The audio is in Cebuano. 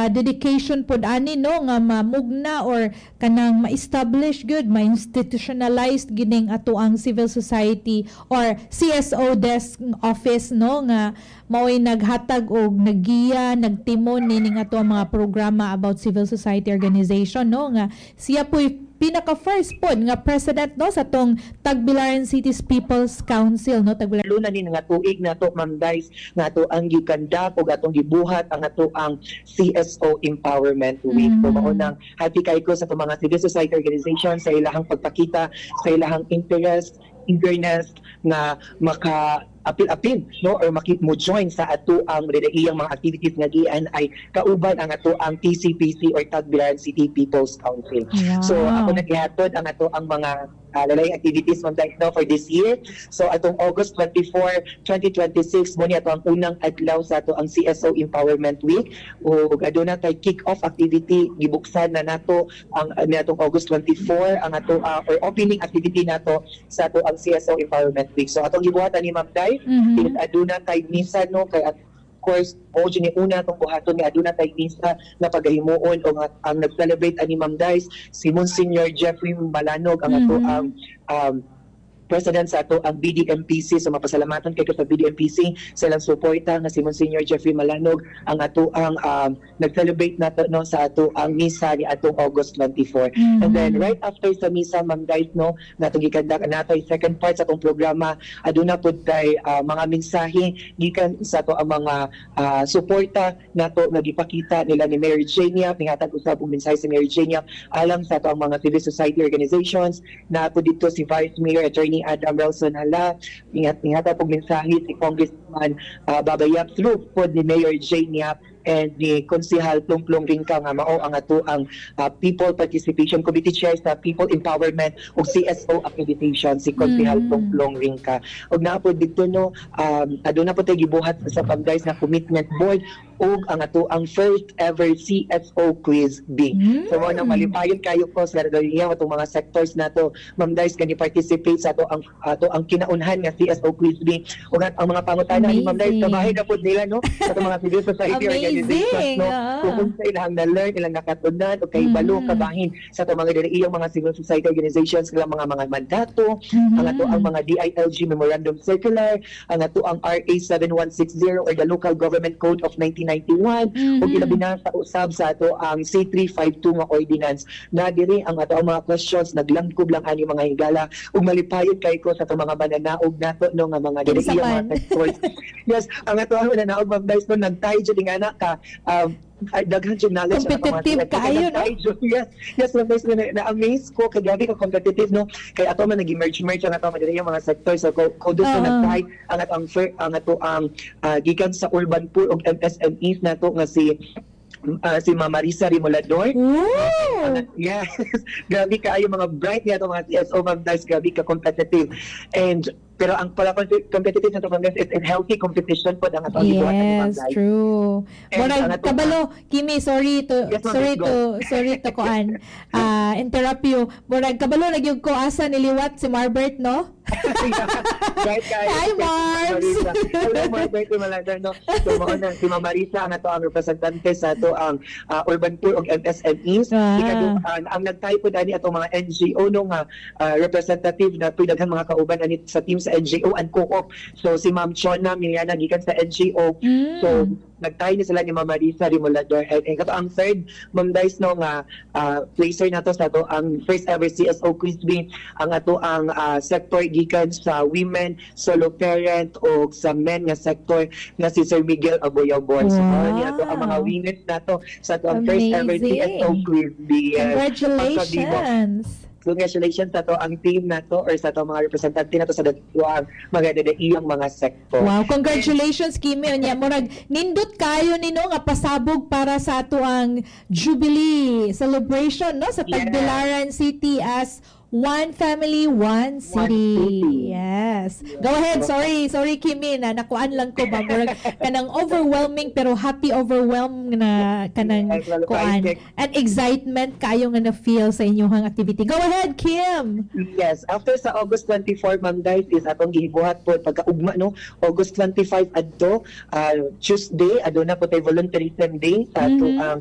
Dedication pod ani, no, nga mamugna or kanang ma-establish gud, ma-institutionalized gining ato ang civil society or CSO desk office, no, nga mao'y naghatag og naggiya, nagtimon nining ato ang mga programa about civil society organization, no, nga siya po'y pinaka first pod nga president, no, sa atong Tagbilaran City's People's Council, no, Tagbilaran. Lalo na ni nga tuig nato, Ma'am Dice, nga ato ang gikandak ug atong gibuhat ang ato ang CSO Empowerment Week. So mao nang happy kay ko sa atong mga civil society organization sa ilahang pagpakita sa ilahang interest, eagerness nga maka apil-apil, no, or maki mo join sa ato ang iyang mga activities nga gian ay kauban ang ato ang TCPC or Tagbilaran City People's Council. So ako nagihatod ang ato ang mga lalayng activities, Ma'am Dice, no, for this year. So atong August 24, 2026 mo ni ato ang unang adlaw sa ato ang CSO Empowerment Week. Ug aduna tay kick-off activity, gibuksan na nato ang niatong August 24 ang ato or opening activity nato sa ato ang CSO Empowerment Week. So atong gibuhatan ni Ma'am Dai is aduna tay misa, no, kay of course mo ni una atong buhaton nga aduna tay misa na pagahimuon o nga ang nag-celebrate ani, Ma'am Dice, si Monsignor Jeffrey Malanog, ang ato ang president sa ato ang BDMPC. So mapasalamatan kay ko sa BDMPC sa ilang suporta nga si Monsignor Jeffrey Malanog ang ato ang nag-celebrate nato, no, sa ato ang misa ni atong August 24. And then right after sa misa, Ma'am Dice, no, natong gikandak natoy second part sa atong programa. Aduna pud tay mga mensahe gikan sa ato ang mga suporta nato nga gipakita nila ni Mary Jane Yap. Nihatag usab og mensahe si Mary Jane Yap alang sa ato ang mga civil society organizations na po dito si Vice Mayor Attorney Adam Relson Hala. Ingat nihatag og mensahe si Congressman Baba Yap through pod ni Mayor Jane Yap and ni Konsehal Plong-Plong Ringka nga mao ang ato ang People Participation Committee Chair sa People Empowerment ug CSO Accreditation, si Konsehal Plong-Plong Ringka. Ug naa pod dito, no, aduna pod tay gibuhat sa Pamdays na commitment board ug ang ato ang first ever CSO Quiz Bee. So mao nang malipayon kayo ko sa niya atong mga sectors nato, Ma'am Dice, kani participate sa ato ang kinaunhan nga CSO Quiz Bee. Ug ang mga pangutana ni Ma'am Dice, Amazing. Kabahin na pod nila, no, sa atong mga civil society organizations, no, kung unsa ilang na-learn, ilang nakatunan o kay balo kabahin sa atong mga iyang mga civil society organizations, ilang mga mandato, ang ato ang mga DILG Memorandum Circular, ang ato ang RA 7160 or the Local Government Code of 1991, ug ilabi na sa usab sa ato ang C352 nga ordinance na diri ang ato ang mga questions naglangkob lang ani mga higala. Ug malipayon kay ko sa atong mga mananaog nato, no, nga mga diri Kinsa iyang mga man. Sectors. Yes, ang ato ang mananaog, Ma'am Dice, no, nagtay jud nga na ka ay, daghan jud knowledge ang atong mga Competitive sectors. kaayo, no? Nagtay jud. Yes, Ma'am Dice, na-amaze ko kay grabe ka competitive, no, kay ato man nag-merge merge ang ato mga diri mga sectors. So kudos na nagtay ang ato ang ang ato ang gikan sa urban poor ug MSMEs nato nga si Ma'am Marisa Rimulador. Ooh! Yes, grabe kaayo mga bright niya mga CSO, Ma'am Dice, grabe ka competitive. And pero ang pala competitive na to, Ma'am Dice, it's a healthy competition po ang atong gibuhat ni Ma'am Yes, Dice. True. And Murag ang ato- kabalo, Kimi, sorry to Yes, ma'am, sorry go. to sorry to kuan. Interrupt you. Murag kabalo na gyud ko asa niliwat si Marbert, no? Right, guys. Hi, Marbs! Marisa. Hello, Marbert Rimulador, no? So, mao na, si Ma'am Marisa ang ato ang representante sa ato ang urban poor ug MSMEs. Ang nagtay po dani atong mga NGO, no, nga representative na tuy daghan mga kauban ani sa team sa NGO and co-op. So si Ma'am Chona Miliana gikan sa NGO. So nagtay ni sila ni Ma'am Marisa Rimulador. And kato ang third, Ma'am Dice, no, nga placer nato sa ato ang first ever CSO Quiz Bee, ang ato ang sector gikan sa women, solo parent o sa men nga sector nga si Sir Miguel Aboyabon. So ni ato ang mga winners nato sa ato ang first ever Amazing. CSO Quiz Bee. Yes. Congratulations. Congratulations sa to ang team nato or sa to mga representante nato sa ang mga dadaiyang mga sector. Wow, congratulations, Kimi. Unya murag nindot kayo nino nga pasabog para sa ato ang Jubilee celebration, no, sa Tagbilaran City as one family, one city. City. Yes. Go ahead. Sorry, sorry, Kimi, na nakuan lang ko ba, murag kanang overwhelming pero happy overwhelm na kanang Yes, well, kuan bye. And excitement kayo nga na feel sa inyong activity. Go ahead, Kim. Yes, after sa August 24, Ma'am Dice, is atong gihibuhat po pagkaugma, no, August 25 adto Tuesday, aduna po tay volunteerism day sa ato ang